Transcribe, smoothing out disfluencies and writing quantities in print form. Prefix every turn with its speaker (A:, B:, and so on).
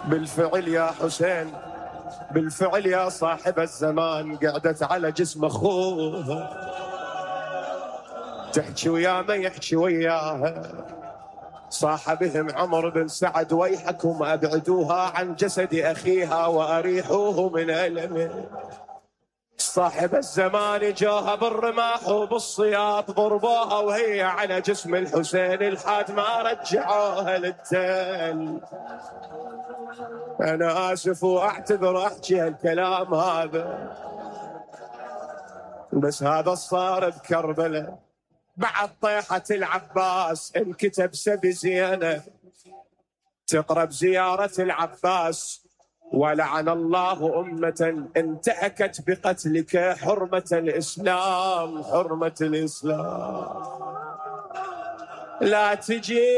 A: بالفعل يا حسين، بالفعل يا صاحب الزمان، قعدت على جسم اخوها تحكي ويا ما يحكي وياها. صاح بهم عمر بن سعد ويحكم ابعدوها عن جسد اخيها واريحوه من المه. صاحب الزمان جاها بالرماح وبالصياط ضربوها وهي على جسم الحسين لحد ما رجعوها للتل. انا اسف واعتذر احكي هالكلام هذا، بس هذا صار بكربلاء بعد طيحة العباس. انكتب سبي زينة تقرب زيارة العباس، ولعن الله أمة انتهكت بقتلك حرمة الإسلام، حرمة الإسلام. لا تجي